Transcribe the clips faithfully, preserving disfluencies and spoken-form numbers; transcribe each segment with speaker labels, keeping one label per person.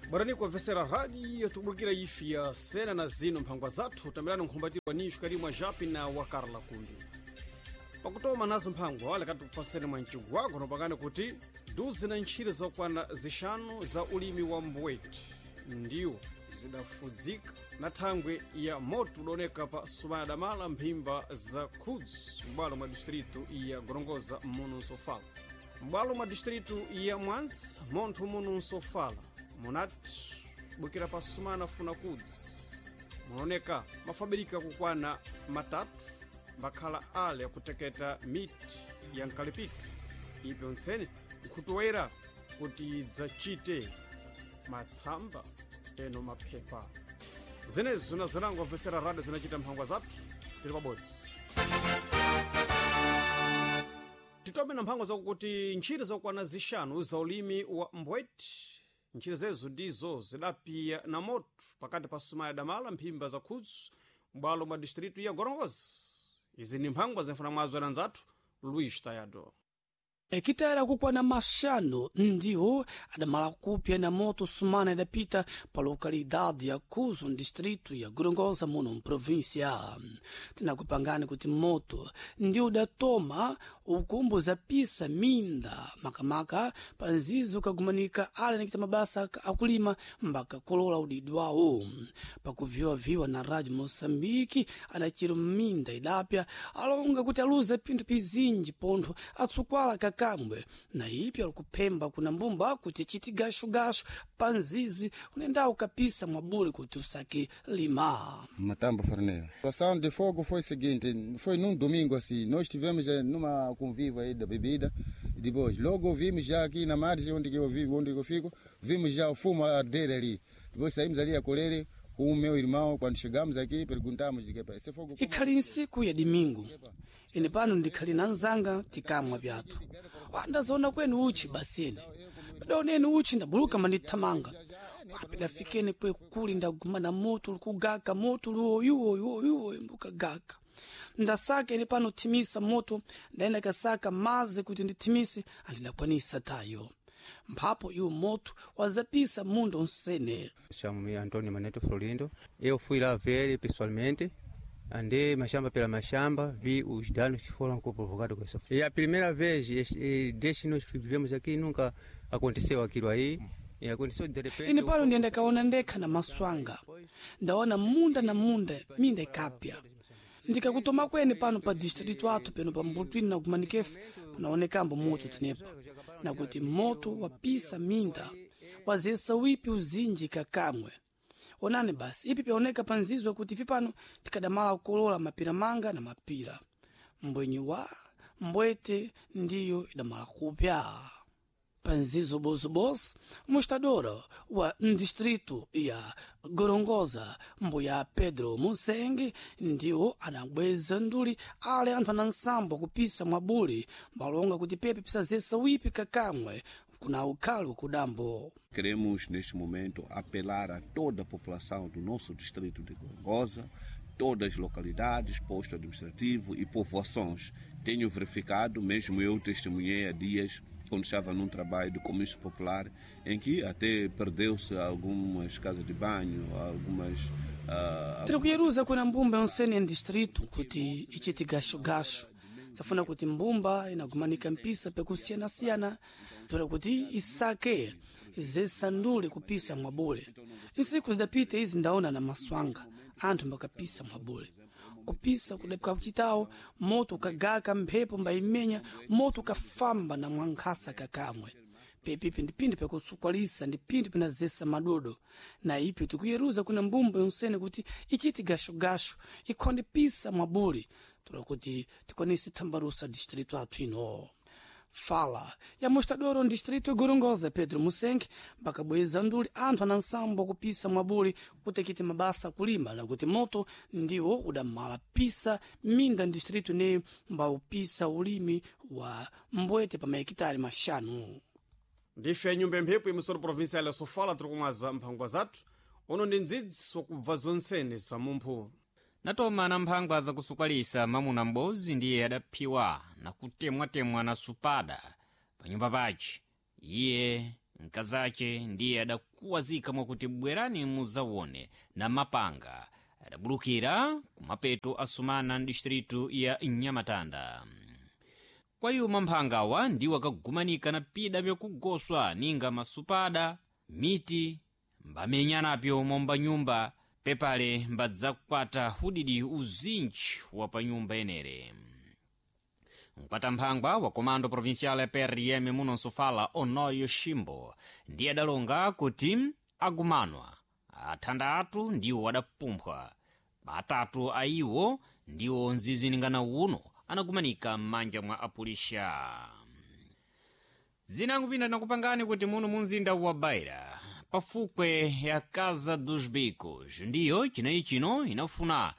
Speaker 1: Bwarani kuwavesera rádio tubulukira ifi ya sena na zino mphangwa zathu tambirani nkhumbatirwa ninxo kalimwa japi na wakarla kundi pakutoma nazo mphangwa wale kati kupaseni mwa mcigwago nopangani kuti duzi na ntchire zokwana zixanu za ulimi wa mbweti ndiwo zidafudzika na thangwe ya moto udoneka pa sumana damala mphimba za khudzu m'bwalo mwa distritu ya gorongoza muno nsofala. M'bwalo mwa distritu ya mwanza montho muno nsofala munati bukira pa sumana funa kudzi munaoneka mafabirika kukwana matatu mbakhala ale akuteketa miti ya mkalipitu ipi ontsene nkhutuwera kuti idzachite matsamba eno maphepha. Zenezo na zanango amvetsera radio zinachita mphangwa zathu tili pabodzi. Titome na mphangwa zakuti ntchito zakukwana zixanu za ulimi wa mbweti ntchito zezo ndizo zidapiya na moto pakati pa sumaya damala mphimba za khudzu m'bwalo mwa distritu ya gorongozi. Izi ni mphangwa zinfuna mwazo na nzathu Luís Tayado.
Speaker 2: Ekitara kukwana maxanu ndiwo adamala kupya na moto sumana idapita pa localidade ya Cuzo, distrito ya Gorongosa, muno mprovíncia. Tinakupangani kuti moto ndiwo udatoma ukumbu zapisa minda makamaka pa nzizo kagumanika ale nikita mabasa akulima mbaka kolola udidwawo. Pakuviwaviwa na rádio Moçambique adachiro minda idapya alonga kuti aluza pinthu pizinji pontho atsukwala kakambwe na ipi alikuphemba kuna mbumba kuti chiti gashugashu pa nzizi unendawo kapisa mwabule kuti usake lima.
Speaker 3: Matamba Forneira. A ação de fogo foi o seguinte, foi num domingo assim, nós tivemos eh, numa convívio aí da bebida, e depois logo vimos já aqui na margem onde que eu vivo, onde que eu fico, vimos já o fumo a arder ali. Depois saímos ali a colher com o meu irmão, quando chegamos aqui perguntamos de que esse fogo como
Speaker 2: Ikhali nsiku ya domingo ine pano ndikhali na nzanga tikamwa pyathu wandazoona kwenu uchi basini padaoneni uchi ndabuluka mandithamanga wapidafikeni kwe kuli ndaguma na moto ulikugaka moto uliwoyuwoyuwoyuwoyo mbukagaka ndasaka ine pano thimisa moto ndaenda kasaka mazi kuti ndithimise andidakwanisa tayo mphapo iwo moto wazapisa munda onsene.
Speaker 4: Chamo-me Antônio Maneto Florindo. Eu fui lá ver pessoalmente, andei machamba pela machamba, vi os danos que foram provocados com essa. E a primeira vez, este, desde que nós vivemos aqui, nunca aconteceu aquilo aí. E aconteceu de repente.
Speaker 2: Ine pano ndiyenda kaona ndekha na maswanga ndaona munda na munda minda ikapya ndikakutoma kwene pano pa distrito athu peno pa mbutwini na kumanikefe panaonekambo moto tenepa nakuti moto wapisa minda wazesa wipi uzinji kakamwe. Onani basi ipi pyaoneka pa nzizwa kuti ife pano tikadamala kukolola mapira manga na mapira mbwenyi wa mbwete ndiyo idamala kupya. Panzizo bozobozo mostrador wa distrito ya Gorongosa mbuya Pedro Musenge ndiwo anabweza nduli ale anthu anansambo kupisa mwabuli mbalonga kuti pepe pisazesa wipi kakamwe kuna ukhali wakudambo.
Speaker 5: Queremos, neste momento, apelar a toda a população do nosso distrito de Gorongosa, todas as localidades, posto administrativo e povoações. Tenho verificado, mesmo eu testemunhei há dias, quando estava num trabalho de comício popular, em que até perdeu-se algumas casas de banho, algumas... Uh,
Speaker 2: Tiri kuyeruza kuna mbumba yonsene ya distrito kuti ichiti gashugashu safuna kuti mbumba inagumanika mpisa pekusiyana-siyana tora kuti isake zesandule kupisa mwabule. Nsiku zidapita izi ndaona na maswanga anthu mbakapisa mwabule kupisa kuchitawo moto ukagaka mphepo mbayimenya moto ukafamba na mwankhasa kakamwe pepipi ndi pinthu pyakusukwalisa ndi pinthu pinazesa madodo na ipi tikuyeruza kuna mbumba yonsene kuti ichiti gashugashu ikhonde pisa mwabule tola kuti tikwanise thambalusa distrito athu ino. Fala ya mostrador on distrito ya Gorongosa Pedro Musenge mbakabweza nduli anthu anansambo kupisa mwabuli kuti akite mabasa akulima nakuti moto ndiwo udamala pisa minda distrito ineyo mbaupisa ulimi wa mbwete pa mahekitari maxanu.
Speaker 1: Ndife ya nyumba ya mphepo imisoro provincial ya sofala tiri kumwaza mphangwa zathu uno ndi ndzidzi wakubva zonsene za mumphu.
Speaker 6: Natoma na mphangwa zakusukwalisa mamuna m'bodzi ndiye adaphiwa na kutemwatemwa na supada pa nyumba pace. Iye Mkazace ndiye adakuwazika mwakuti bwerani muzawone na mapanga adabulukira kumapeto asumana mdistritu ya Nyamatanda. Kwa iwo mamphangawa ndiwo akagumanika na pida vyakugoswa ninga masupada, miti, mbamenyanapyo momba nyumba pepale mbadzakwata hudidi uzinji wa pa nyumba enere. Mkwata-mphangwa wa Comando Provincial ya P R M muno Nsofala, Honório Shimbo, ndiye adalonga kuti agumanwa athandathu ndiwo adapumphwa, atatu a iwo ndiwo nziziningana uno anagumanika m'manja mwa apulisha. Zinangupinda nakupangani kuti muno mu mzinda wa Beira, pafukwe ya Casa dos Bicos, ndiyo chinayi chino inafuna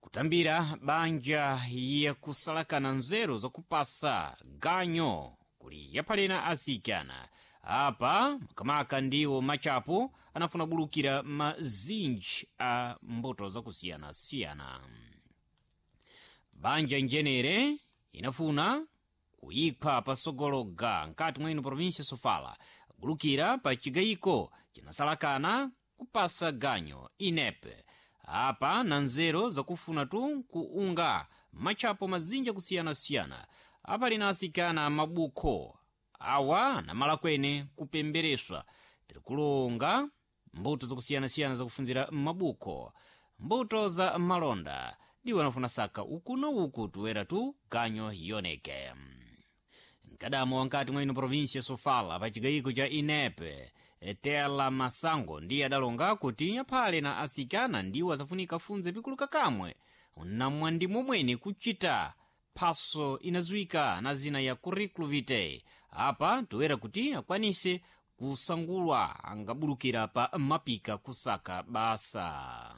Speaker 6: kutambira banja yakusalakana nzeru zakupasa ganyo kuli yapalena asikana. Apa makamaka ndiwo machapo anafuna bulukira mazinji a mbuto zakusiyanasiyana. Banja njenere inafuna kuyipha pasogologa nkati mwenu província Sofala gulukira pa chigayiko chinasalakana kupasa ganyo inepe apa na nzeru zakufuna tu kuunga machapo mazinja kusiyanasiyana. Apa lina asikana mabukho awa na malakwene kupembereswa tirikulonga mbuto zakusiyanasiyana zakufunzira mabukho, mbuto za malonda, ndiwo anafuna saka uku na uku tuwera tu ganyo yoneke. Mkadamo wankati mwa ino província Sofala pa chigayiko cha Inepe, Tela Masango, ndiye adalonga kuti aphale na asikana ndiwo azafunika afunze pikuluka kamwe namwa ndimo mwene kuchita phaso inazuika na zina ya curriculo vitae. Apa toera kuti akwanise kusangulwa angabulukira pa mapika kusaka basa.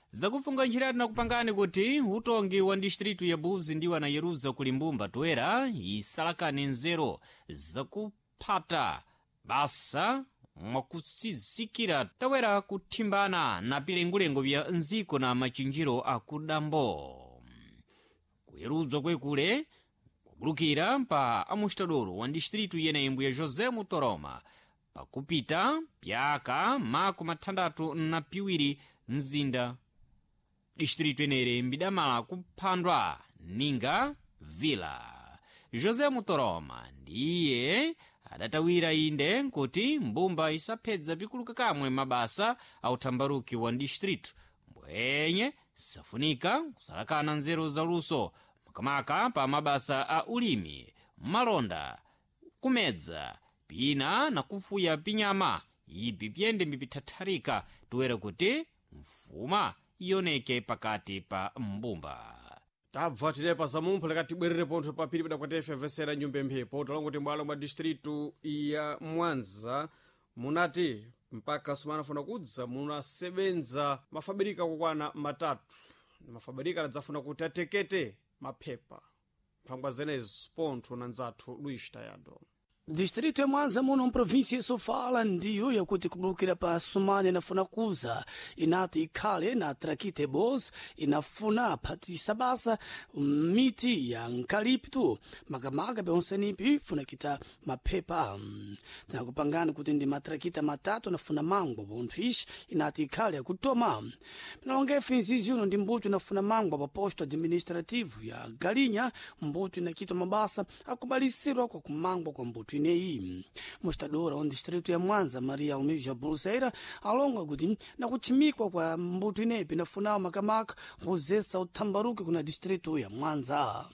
Speaker 6: Zakufunga njirani nakupangani kuti utongi wa distritu ya Buzi ndiwo anayeruza kuli mbumba toera isalakane nzeru zakuphata basa mwakusizikira tawera kuthimbana na pilengulengo bya nziko na machinjiro akudambo. Kuyeruzwa kwekule kwabulukira pa amustadoro wa distritu yenembo ya José Mutoroma pakupita pyaka mako mathandathu na piwiri mzinda distritu enere mbidamala kuphandwa ninga vila. José Mutoroma ndiye adatawira inde nkuti mbumba isaphedza pikuluka kamwe mabasa a uthambaruki wa distritu mbwenye safunika kusalakana nzeru zaluso makamaka pa mabasa a ulimi, malonda, kumedza pina na kufuya pinyama ipi pyende mbipithatharika toera kuti mfuma ioneke pakati pa mbumba.
Speaker 1: Tabva tilepa za mumpho lekati tibwerere pontho paphiri padakwatefe vesera nyumba mphepo talongo timbwalo mwa distritu ya Mwanza munati mpaka sumanafuna kudza munasebenza mafabirika kukwana matatu na mafabirika anadzafuna kuti atekete maphepha mphangwa zenezo pontho na nzathu Luis Tayado.
Speaker 2: Distrito ya Mwanza muno mprovíncia ya Sofala ndiyo yakuti kubulukira pa sumani inafuna kuza inati ikhale na trakite bos inafuna phatisa basa miti ya nkalipto makamaka ponsenipi ifuna kita maphepha. Tinakupangani kuti ndi matrakita matatu anafuna mangwa pontho ixi inati ikhale yakutoma pinalongefe nzizi uno ndi mbuto inafuna mangwa pa posto administrativo ya Galinha, mbuto inakitwa mabasa akubalisirwa kwa kumangwa kwa mbuto ineyi. Mostadora wa distrito ya Mwanza, Maria Almeida Bulseira, alonga kuti nakuchimikwa kwa mbuto ineyi pinafunawo makamaka kuzesa uthambaruki kuna distrito ya Mwanza.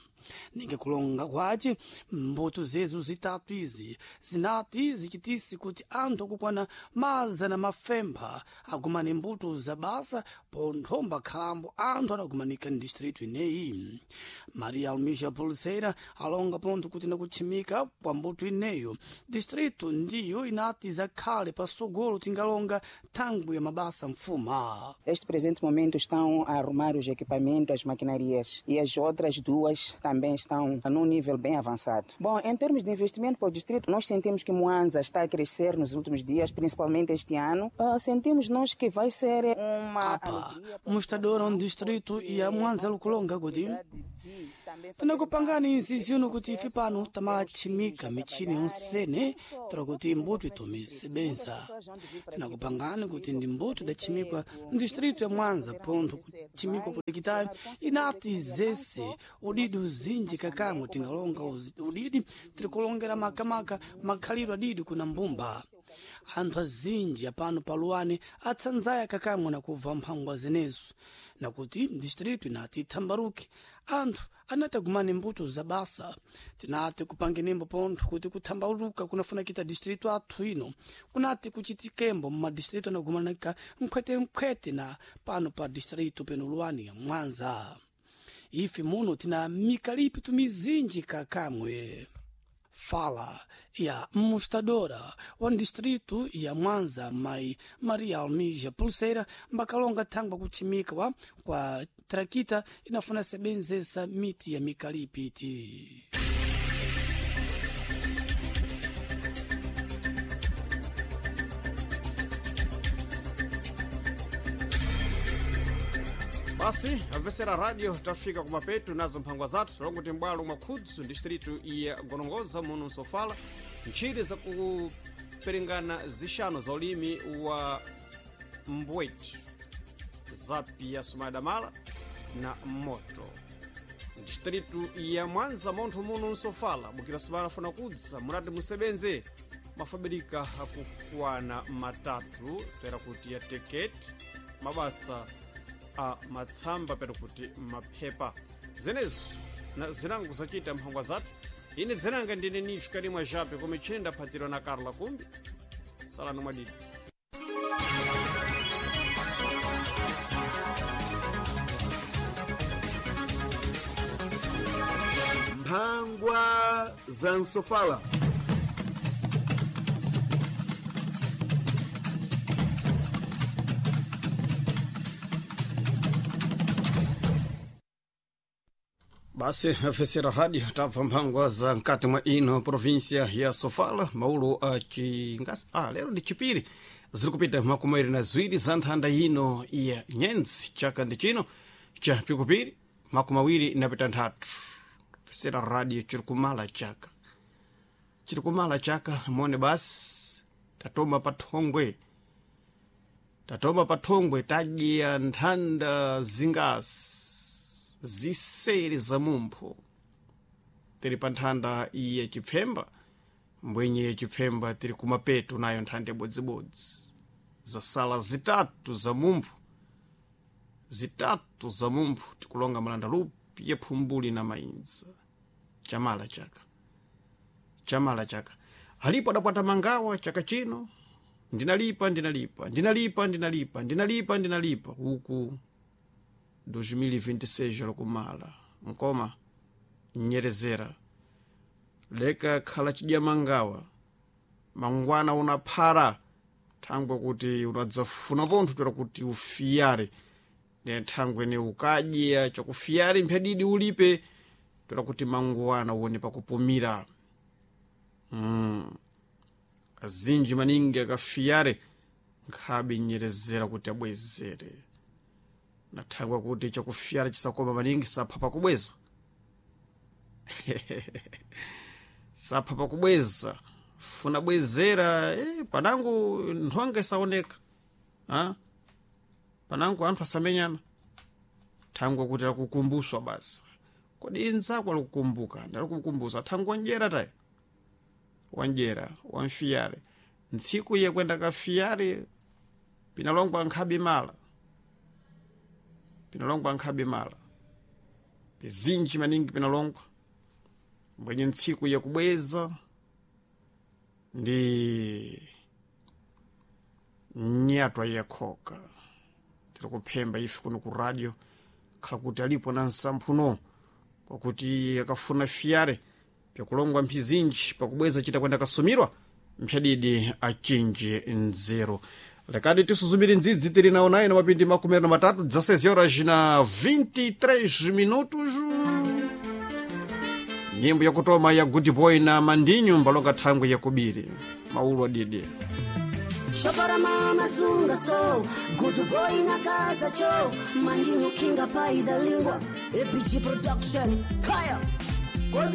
Speaker 2: Ninge kulonga kwace mbuto zezo zitatu izi zinati zichitisi kuti anthu akukwana mazana mafempha agumane mbuto za basa ponthomba khalambo anthu adagumanika ndistritu ineyi. Maria Almisha Pulseira alonga pontho kuti nakutchimika kwa mbuto ineyo distritu ndiyo inati zakhale pasogolo tingalonga thangwi ya mabasa mfuma.
Speaker 7: Este presente momento estão a arrumar os equipamentos, as maquinarias e as outras duas também estão num nível bem avançado. Bom, em termos de investimento para o distrito, nós sentimos que Mwanza está a crescer nos últimos dias, principalmente este ano. Uh, sentimos nós que vai ser uma
Speaker 2: Apa, mostrador um distrito e a Mwanza lukulonga kuti Tinakupangani nziziuno kuti ife pano tamalachimika michini yonsene tira kuti mbuto itome sebenza. Tinakupangani kuti ndi mbuto idachimikwa mdistrito ya Mwanza pontho kuchimikwa kudikitayo inati zese udidi uzinji kakamwe tingalonga udidi tirikulongera makamaka makhalidwe adidi kuna mbumba. Anthu azinji apano paluwani atsanzaya kakamwe nakubva mphangwa zenezo nakuti distritu inati ithambaruke anthu anati agumane mbuto za basa. Tinati kupangenembo pontho kuti kuthambaluka kunafunakita distritu athu ino kunati kuchitikembo mmadistritu anagumanika mkhwetemkhwete na pano pa distritu peno luwani ya Mwanza. Ife muno tina mikalipitu mizinji kakamwe. Fala ya mostradora wa distrito ya Mwanza mai Maria Almija Pulseira mbakalonga thangwa kuchimika wa kwa trakita inafuna sebenzesa miti ya mikalipiti.
Speaker 1: Basi amvesera radio tafika kumapetu nazo mphangwa zathu tilongo mbwalo mwa khudzu distritu ya Gorongosa muno nsofala ntchire zakuperingana zixano za ulimi wa mbweti zapi ya sumadamala na moto distritu ya Mwanza montho muno nsofala bukira sumana afuna kudza munati musebenze mafabirika akukwana matatu pera kuti ya teketi mabasa a matsamba pero kuti maphepha zenezo na zinango zachita mphangwa zathu. Ine dzinanga ndine nicho kalimwa jape kome chine ndaphatirwa na Carla Kumbi. Salano mwadidi.
Speaker 8: Mphangwa za Nsofala.
Speaker 1: Basi afesera radio tabva mphangwa za mkati mwa ino província ya Sofala maulo a chingasi ah, lero ndi chipiri ziri kupita makumi awiri na ziwiri za nthanda ino ya nyenzi chaka ndi chino cha pikupiri makumi awiri napita nthatu. Afesera radio chiri kumala chaka chiri kumala chaka mone basi tatoma pathongwe tatoma pathongwe tadya nthanda zingasi ziseri za mumpho tiri pa nthanda ya chipfemba mbwenye ya chipfemba tiri kumapeto nayo nthanda ibodzibodzi zasala zitatu za mumpho zitatu za mumpho tikulonga malanda lupi yephumbuli na mainza chamala chaka chamala chaka alipo adapwata mangawa chaka chino ndinalipa ndinalipa ndinalipa ndinalipa ndinalipa ndinalipa uku dois mil e vinte e seis lokumala nkoma nyerezera leka khala chidya mangawa mangwana unaphara thangwe kuti unadzafuna pontho toera kuti ufiyare ne thangwe ne ukadya chakufiyare mphadidi ulipe toera kuti mangwana uone pakupumira mm. Azinji maningi akafiyare nkhabe nyerezera kuti abwezere nathangwa kuti chakufyara chisakoma maningi sapha pakubweza sapha pakubweza funa bwezera eh, panangu nthonga isaoneka ha? Panangu anthu asamenyana thangwa kuti akukumbuswa basi kodi inzako alikukumbuka ndalikukumbusa thangwa wanjera tayi wanjera wamfiyare ntsiku iye kwenda kafiyare pinalongwa nkhabe mala pinalongwa nkhabe mala pizinji maningi pinalongwa mbwenye ntsiku yakubweza ndi nyatwa yakhoka tiri kuphemba ife kuno ku radio khala kuti alipo na nsamphuno kwakuti akafuna fiyare pyakulongwa mphizinji pakubweza chita kwenda kasumirwa mphyadidi achinji nzeru. Lekadi tisuzumire ndzidzi tiri nawo nayi na mapindi makumi na matatu dezesseis horas na vinte e três minutos. Nyimbo yakutoma ya Good Boy na Mandinho mbalonga thangwe yakubiri maulu adidi.
Speaker 9: Shopara mama zunga so Good boy na kaza cho Mandinho kinga paida lingua A P G production Kaya.